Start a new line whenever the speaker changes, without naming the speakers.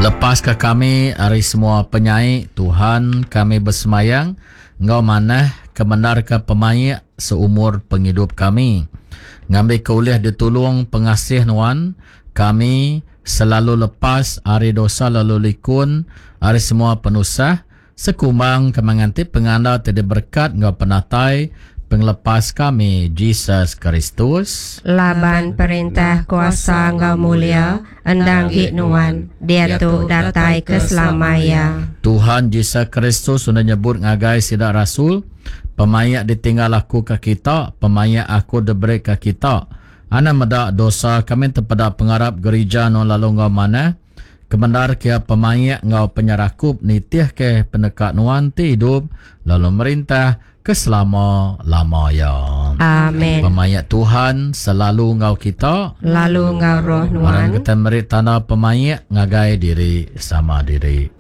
Lepaska kami ari semua penyai, Tuhan, kami besemayang enggau manah kemendarka pemaik seumur pengidup kami, ngambika ulih ditulung pengasih Nuan, kami selalu lepas ari dosa lalu likun ari semua penusah, sekumbang kami nganti pengandal ti diberekat enggau penatai Pengelepas kami, Jesus Kristus.
Laban perintah, kuasa enggau mulia endang gi Nuan, diatu datai ke selama iya.
Tuhan Jesus Kristus udah nyebut ngagai sida rasul, Pemaik ditinggal aku ke kita, pemaik aku diberi ke kita. Anang meda dosa kami tepeda pengarap gerija nuan lalu enggau manah, kemendar ke iya pemaik enggau penyerakup nitih ke peneka nuan ti idup lalu merintah ke selama lama iya.
Amen.
Pemaik Tuhan selalu enggau kita.
Lalu enggau roh nuan.
Orang kita meri tanda pemaik ngagai diri sama diri.